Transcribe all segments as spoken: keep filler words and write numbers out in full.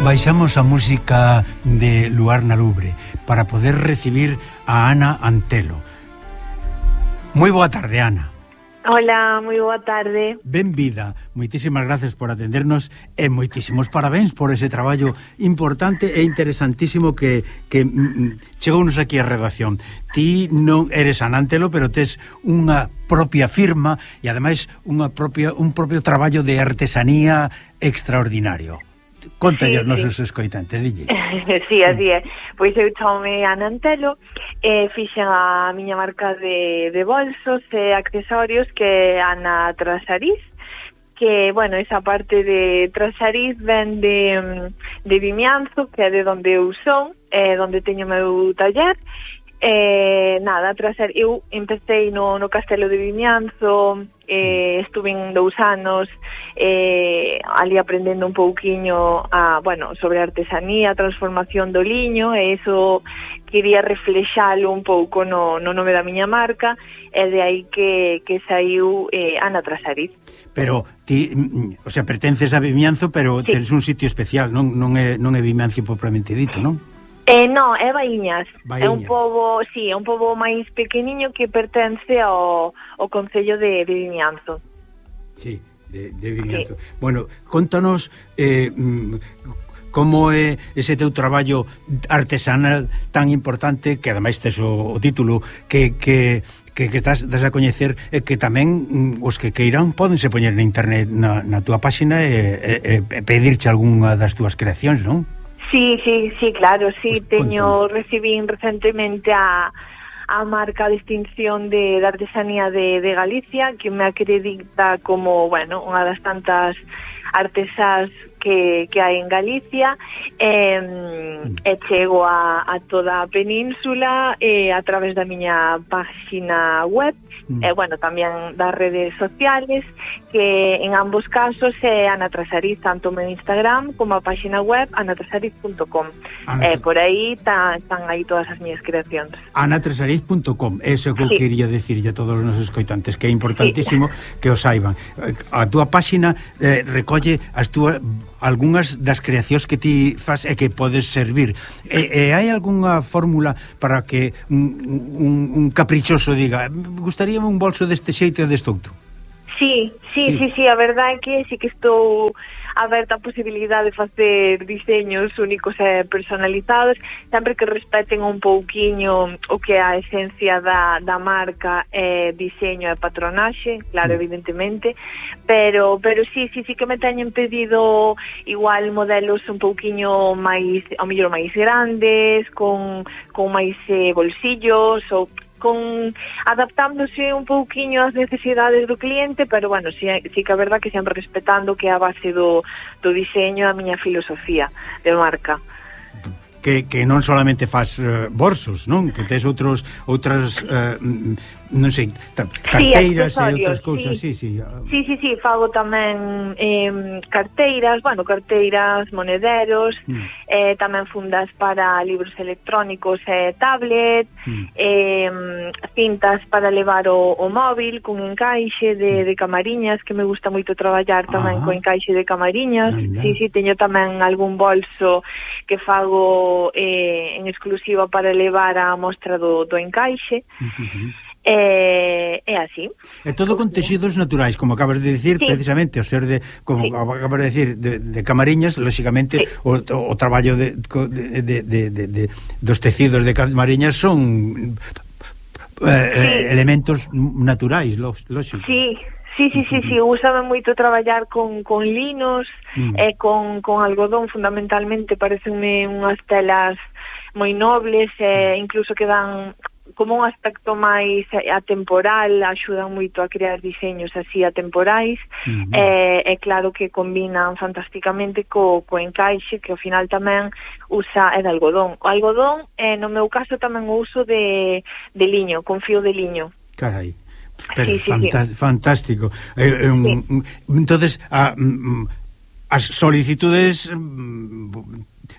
Baixamos a música de Luar na Lubre para poder recibir a Ana Antelo. Moi boa tarde, Ana. Hola, moi boa tarde. Benvida, moitísimas gracias por atendernos e moitísimos parabéns por ese traballo importante e interesantísimo que, que mm, chegounos aquí a redacción. Ti non eres Ana Antelo, pero tes unha propia firma e ademais unha propia, un propio traballo de artesanía extraordinario. Contalle aos sí, nosos sí. escoitantes, dille. Sí, así é. Pois eu chamo-me Ana Antelo e fixen a miña marca de, de bolsos e accesorios que é Ana Trasariz, que, bueno, esa parte de Trasariz ven de, de Vimianzo, que é de onde eu son, é onde teño o meu taller. Eh, nada, tras ser, eu empecé no, no Castelo de Vimianzo, eh, estuve en dous anos eh, ali aprendendo un pouquiño a, bueno, sobre artesanía, transformación do liño, e iso quería reflexalo un pouco no, no nome da miña marca, e de aí que, que saiu eh, Ana Trasariz. Pero ti, o sea, pertences a Vimianzo, pero sí. Tens un sitio especial, non, non é, non é Vimianzo propriamente dito, non? Eh, non, é Baíñas. Baíñas. É un pobo, sí, é un pobo máis pequeniño que pertence ao, ao concello de, de Vimianzo. Sí, de, de Vimianzo. Sí. Bueno, contanos eh, como é ese teu traballo artesanal tan importante, que ademais tes o, o título que... que que, que estás, estás a coñecer, e que tamén os que queiran pódense poñer na internet na, na túa páxina e, e, e pedirche algunha das túas creacións, non? Sí, sí, sí, claro, sí, pues, teño, recibín recentemente a, a marca de distinción de, de artesanía de, de Galicia, que me acredita como, bueno, unha das tantas artesás que, que hai en Galicia, e, e chego a, a toda a península e a través da miña página web, mm. e, bueno, tamén das redes sociales, que en ambos casos é Ana Trasariz, tanto no Instagram como a página web ana trasariz punto com. E por aí ta, están aí todas as miñas creacións. ana trasariz punto com, eso que eu sí. quería decirlle a todos os nosos escoitantes, que é importantísimo sí. que o saiban. A túa página eh, recolle as túas algunhas das creacións que ti faz e que podes servir. E, e hai algunha fórmula para que un, un, un caprichoso diga, gustaríame un bolso deste xeito e deste outro? Sí, sí, sí, sí, sí, a verdade é que sí que estou aberta a posibilidade de facer diseños únicos e personalizados, sempre que respeten un pouquiño o que é a esencia da, da marca, é diseño e patronaxe, claro, evidentemente, pero pero sí, sí, sí que me teñen pedido igual modelos un pouquiño máis, ao mellor máis grandes, con, con máis eh, bolsillos, ou con adaptándose un pouquiño ás necesidades do cliente, pero bueno, sí, sí que a verdad que sempre respetando que é a base do, do diseño a miña filosofía de marca. Que, que non solamente faz uh, bolsos, non? Que tes outros outras uh, non sei, carteiras sí, e outras cousas, sí. Sí, sí. Sí, sí, sí, fago tamén eh, carteiras, bueno, carteiras, monederos, mm. eh, tamén fundas para libros electrónicos e tablet, mm. eh, cintas para levar o, o móvil con encaixe de, de camariñas, que me gusta moito traballar tamén ah. con encaixe de camariñas. Ah, sí, sí, teño tamén algún bolso que fago eh, en exclusiva para levar a mostra do, do encaixe. Uh-huh. É, é así. É todo con texidos naturais, como acabas de dicir, sí. precisamente, o ser de, como sí. acabas de dicir, de, de camariñas, lóxicamente, sí. o, o, o traballo de, de, de, de, de, de, dos tecidos de camariñas son eh, sí. elementos naturais, lóxico. Sí. Sí, sí, sí, sí, úsame moito traballar con, con linos mm. e con, con algodón, fundamentalmente, parecenme unhas telas moi nobles e incluso que dan como un aspecto máis atemporal, axudan moito a crear diseños así atemporais, mm-hmm. e, e claro que combinan fantásticamente co, co encaixe, que ao final tamén usa é de algodón. O algodón, eh, no meu caso, tamén o uso de, de liño, con fío de liño. Carai. Pero sí, sí, fanta sí. fantástico. Eh, eh, sí. Entonces, a, as solicitudes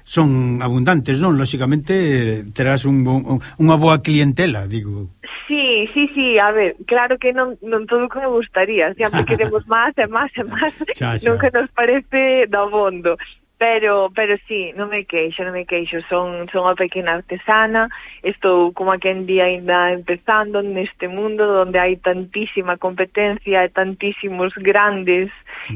son abundantes, non? Lóxicamente terás un, un, unha boa clientela, digo. Sí, sí, sí, a ver, claro que non, non todo o que me gustaría, sempre queremos máis e máis e máis, nunca nos parece do abondo. Pero, pero sí, non me queixo, non me queixo. Son, son unha pequena artesana, estou como que en día ainda empezando neste mundo onde hai tantísima competencia e tantísimos grandes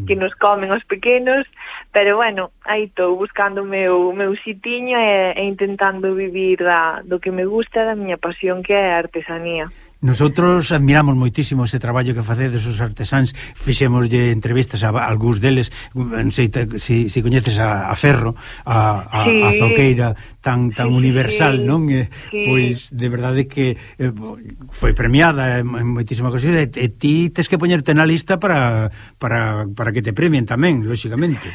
que nos comen os pequenos, pero bueno, aí estou buscando o meu, meu sitiño e, e intentando vivir da, do que me gusta, da miña pasión, que é a artesanía. Nosotros admiramos moitísimo ese traballo que facedes os artesáns, fixémoslle entrevistas a algúns deles, non sei se si, si coñeces a, a Ferro, a, a, sí. a zoqueira tan tan sí, universal, sí. non? Eh, sí. Pois de verdade que eh, foi premiada en, en moitísima cosa, e, e ti tes que poñerte na lista para, para, para que te premien tamén, lóxicamente.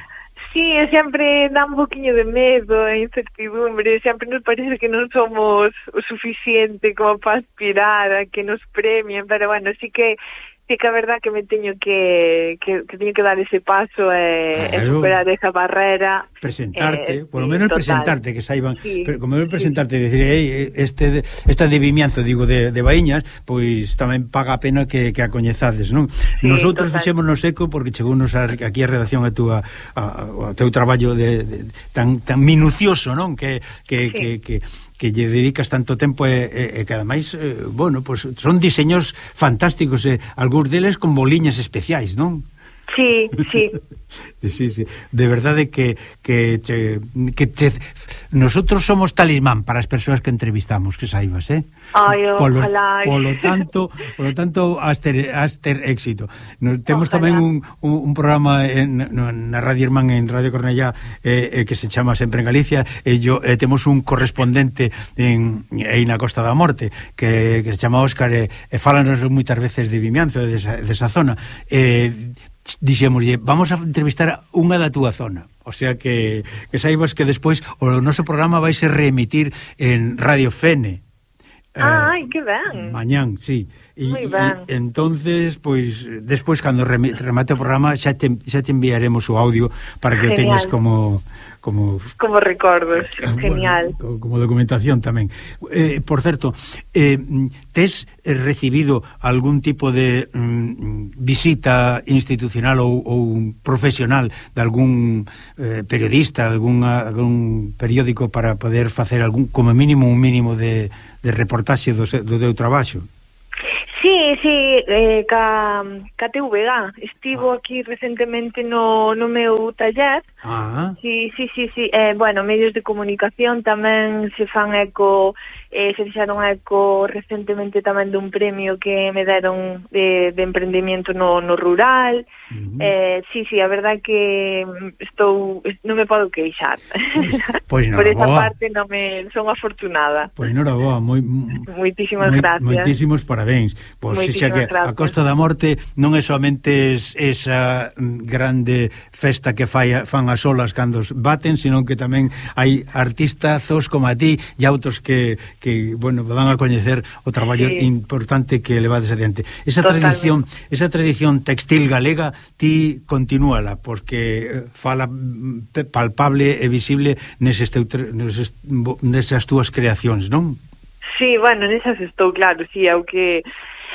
Sí, sempre dá un poquinho de medo e incertidumbre, sempre nos parece que non somos o suficiente como para aspirar a que nos premien, pero bueno, sí que sí que a verdad que me teño que que, que teño que dar ese paso e, claro. e superar esa barrera, presentarte, eh, por lo sí, menos total. presentarte, que saiban, sí, pero como menos sí. presentarte e decir, hey, este este adivimianzo, digo, de, de Baíñas, pois tamén paga a pena que, que a coñezades, non? Sí, nosotros fixémonos eco porque chegounos aquí a redacción a túa a, a teu traballo de, de, tan tan minucioso, non? Que que, sí. que, que que lle dedicas tanto tempo e, e, e que ademais, eh, bueno, pues son diseños fantásticos, e eh, algúns deles con boliñas especiais, non? Sí, sí. Sí, sí, de verdade que que che, que che, nosotros somos talismán para as persoas que entrevistamos, que saibas, eh? Ai, polo, ojalá. polo tanto, polo tanto has ter, has ter éxito. Nos, temos ojalá. Tamén un, un, un programa en, na Radio Irmán, en Radio Cornellá, eh, eh, que se chama Sempre en Galicia, e yo eh, temos un correspondente en aí na Costa da Morte que, que se chama Óscar, e, e fálanos moitas veces de Vimianzo, de esa, de esa zona. Eh, dixémoslle, vamos a entrevistar unha da túa zona, o sea que, que saibas que despois o noso programa vai ser reemitir en Radio Fene. Ah, ai, que ben. Mañán, sí. E, e entonces, pois, despois cando remate o programa xa te, xa te enviaremos o audio para que Genial. O teñas como como como recordos, genial. Bueno, como documentación tamén. Eh, por certo, eh, tes recibido algún tipo de mm, visita institucional ou, ou profesional de algún eh, periodista, algún, algún periódico para poder facer algún, como mínimo, un mínimo de, de reportaxe do, do teu traballo? Sí, sí, eh, ca, ca T V G estivo ah. aquí recentemente no, no meu taller. Ah. Sí, sí, sí, sí. Eh, bueno, medios de comunicación tamén se fan eco, eh, se fixaron eco recentemente tamén dun premio que me deron de, de emprendimiento no, no rural. Uh-huh. eh, sí, sí, a verdad que estou, non me podo queixar. Pois, pois por esa boa. Parte non me son afortunada. Pois noraboa, moi moitísimas moi, gracias. Moitísimos parabéns. Pois xa que gracias. A Costa da Morte non é somente es, esa grande festa que fai, fan as olas cando baten, sino que tamén hai artistazos como a ti e outros que, que bueno, dan a coñecer o traballo sí. importante que levades adiante. Esa Totalmente. tradición, esa tradición textil galega ti continúala, porque fala palpable e visible neses, teu, neses, nesas túas creacións, non? Sí, bueno, nesas estou claro, sí, é o que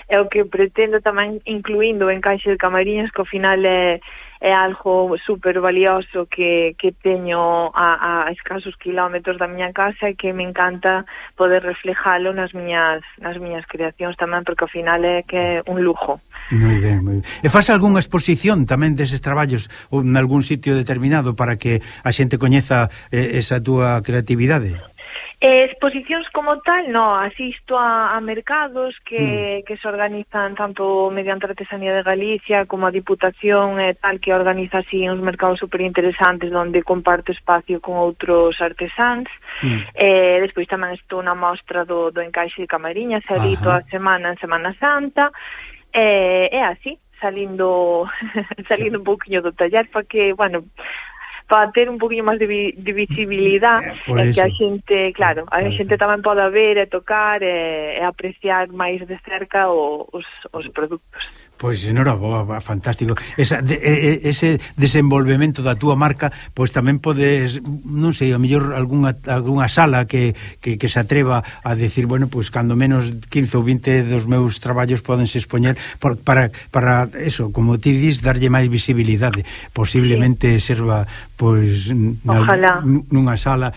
é o que pretendo tamén incluindo o encaixe de Camariñas, que ao final é, é algo super valioso que, que teño a, a escasos kilómetros da miña casa e que me encanta poder reflejalo nas miñas, nas miñas creacións tamén, porque ao final é que é un lujo. Moi ben, moi ben. E faz algunha exposición tamén deses traballos ou en algún sitio determinado para que a xente coñeza eh, esa túa creatividade? Eh, exposicións como tal, no, asisto a, a mercados que, mm. que se organizan tanto mediante a Artesanía de Galicia como a Diputación e tal, que organiza así uns mercados super interesantes onde comparto espacio con outros artesáns. Mm. Eh, despois tamén estou na mostra do, do encaixe de Camariñas, ali toda a semana en Semana Santa, e eh, é así, salindo salindo un pouquinho do taller para que, bueno, para ter un poquinho máis de, vi, de visibilidade e que a xente, claro, a xente tamén poda ver e tocar e, e apreciar máis de cerca o, os, os produtos. Pois, enhoraboa, fantástico. Esa, de, ese desenvolvemento da túa marca, pois tamén podes, non sei, a mellor algunha, algunha sala que, que, que se atreva a decir, bueno, pois cando menos quince ou vinte dos meus traballos podense expoñer por, para, para eso, como ti dis, darlle máis visibilidade. Posiblemente sí. serva, pois, Ojalá. nunha sala...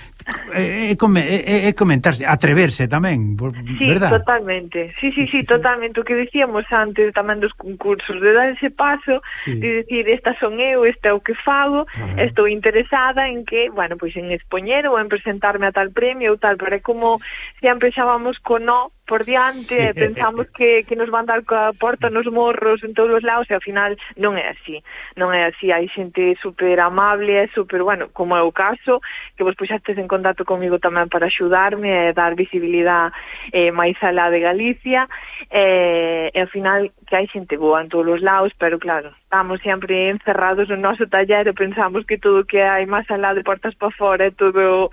É, é, é, é comentarse, atreverse tamén, sí, verdad? Totalmente, sí, sí, sí, sí, totalmente, o que decíamos antes tamén dos concursos, de dar ese paso, sí. de decir, esta son eu, esta é o que fago, ah. estou interesada en que, bueno, pois en expoñer ou en presentarme a tal premio ou tal, pero é como sempre xa vamos co no por diante, sí. pensamos que, que nos van dar coa porta nos morros en todos os lados e ao final non é así, non é así, hai xente super amable, é super, bueno, como é o caso, que vos puxastes en contacto comigo tamén para axudarme e dar visibilidade eh, máis alá de Galicia, eh, e ao final que hai xente boa en todos os lados, pero claro, estamos sempre encerrados no noso taller e pensamos que todo que hai máis alá de portas para fora é todo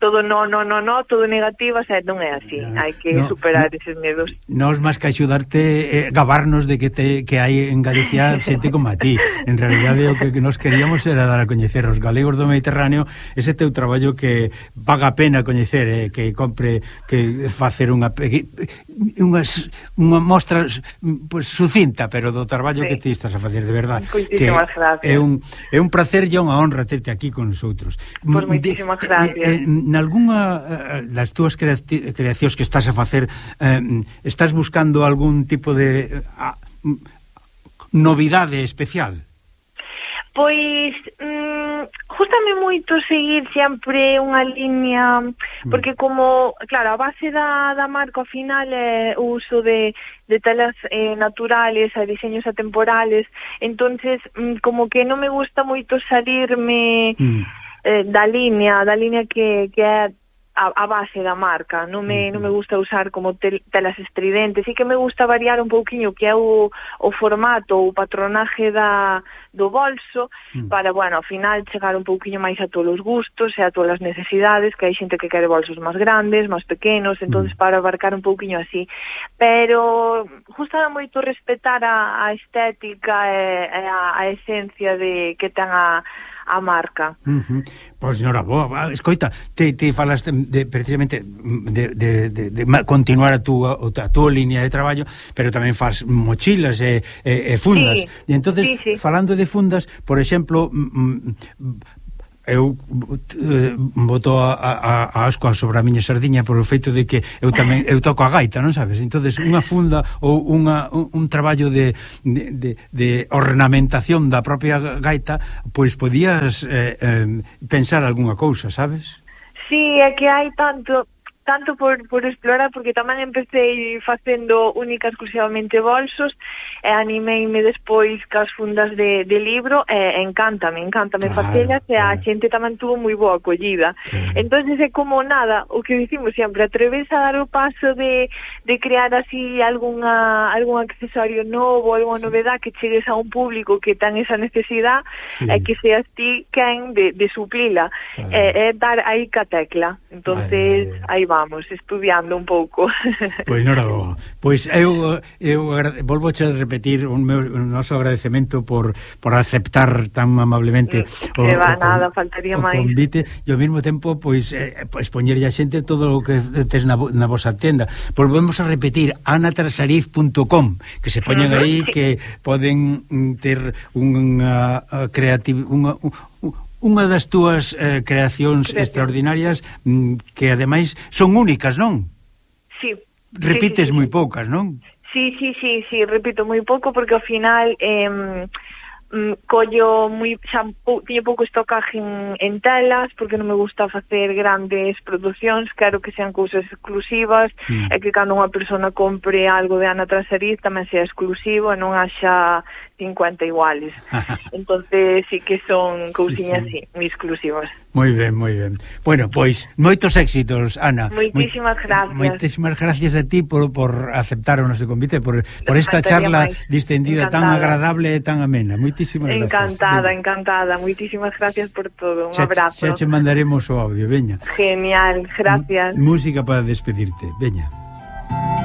todo no, no, no, no, todo negativas, e non é así, hai que no, superar no, eses medos. Nos máis que axudarte, eh, gabarnos de que te, que hai en Galicia xente como a ti. En realidade o que, que nos queríamos era dar a coñecer os galegos do Mediterráneo ese teu traballo que paga a pena coñecer, eh, que compre, que facer unha unha, unha mostra pues, sucinta, pero do traballo sí. que ti estás a facer, de verdade. Moitísimas gracias. É un, é un placer e unha honra terte aquí con nosotros. Pois moitísimas gracias. Eh, eh, nalgúna das túas creacións que estás a facer, eh, estás buscando algún tipo de a, novidade especial? Pois mm, gústame moito seguir sempre unha liña, porque como, claro, a base da, da marca ao final é o uso de, de telas eh, naturales e diseños atemporales, entonces mm, como que non me gusta moito salirme mm. eh, da liña, da liña que, que é A, a base da marca, non me, non me gusta usar como tel, telas estridentes, e que me gusta variar un pouquiño que é o, o formato, o patronaje da, do bolso, mm. para, bueno, ao final chegar un pouquiño máis a todos os gustos e a todas as necesidades, que hai xente que quere bolsos máis grandes, máis pequenos, entonces mm. para abarcar un pouquiño así, pero gusta moito respetar a, a estética e, e a, a esencia de que ten a a marca. Uh-huh. Pois, senhora, boa, escoita, te, te falas de, de, precisamente de, de, de, de continuar a túa, a túa línea de traballo, pero tamén faz mochilas e, e, e fundas. Sí, e entonces, sí, sí. falando de fundas, por exemplo, eu eh, boto a, a, a ascoa sobre a miña sardiña por o feito de que eu tamén eu toco a gaita, non sabes? Entonces unha funda ou unha, un, un traballo de, de, de, de ornamentación da propia gaita, pois podías eh, eh, pensar algunha cousa, sabes? Sí, é que hai tanto tanto por, por explorar, porque tamén empecé facendo única exclusivamente bolsos e animeime despois cas fundas de, de libro e encántame, encántame claro, facelas e a claro. xente tamén tuvo moi boa acollida. Claro. Entonces é como nada, o que dicimos sempre, atreves a dar o paso de, de crear así algunha, algún accesorio novo, alguna novedad que chegues a un público que ten esa necesidade sí. e que seas ti quen de, de suplila. Claro. É, é dar aí ca tecla. Entonces, vale, vale. aí vamos, estudiando un pouco. Pois non era boa. Pois eu, eu volvo a repetir o meu o noso agradecemento por, por aceptar tan amablemente o, que va, o, nada, faltaría o máis. convite e ao mesmo tempo pois eh, expoñerlle a xente todo o que tes na, na vosa tenda. Volvemos a repetir ana trasariz punto com, que se poñen aí, sí. que poden ter unha creativa unha unha das túas eh, creacións Creación. extraordinarias mm, que ademais son únicas, non? Sí. Repites sí, sí, moi sí. poucas, non? Sí, sí, sí, sí, repito moi pouco porque ao final eh, mm, collo moi xa pou, tiño pouco estocaje en, en telas porque non me gusta facer grandes producións, quero que sean cousas exclusivas mm. e que cando unha persona compre algo de Ana Trasariz tamén sea exclusivo e non haxa cincuenta iguales. Entonces sí que son cousiñas sí, sí. así, moi exclusivas. Moi ben, moi ben. Bueno, pois, moitos éxitos, Ana. Moitísimas gracias. Moitísimas gracias a ti por, por aceptar o noso convite, por, por esta charla máis. distendida encantada. Tan agradable e tan amena. Moitísimas gracias. Encantada, veña. encantada. Moitísimas gracias por todo. Un xa, abrazo. Xa che mandaremos o audio, veña. Genial, gracias. M música para despedirte, veña.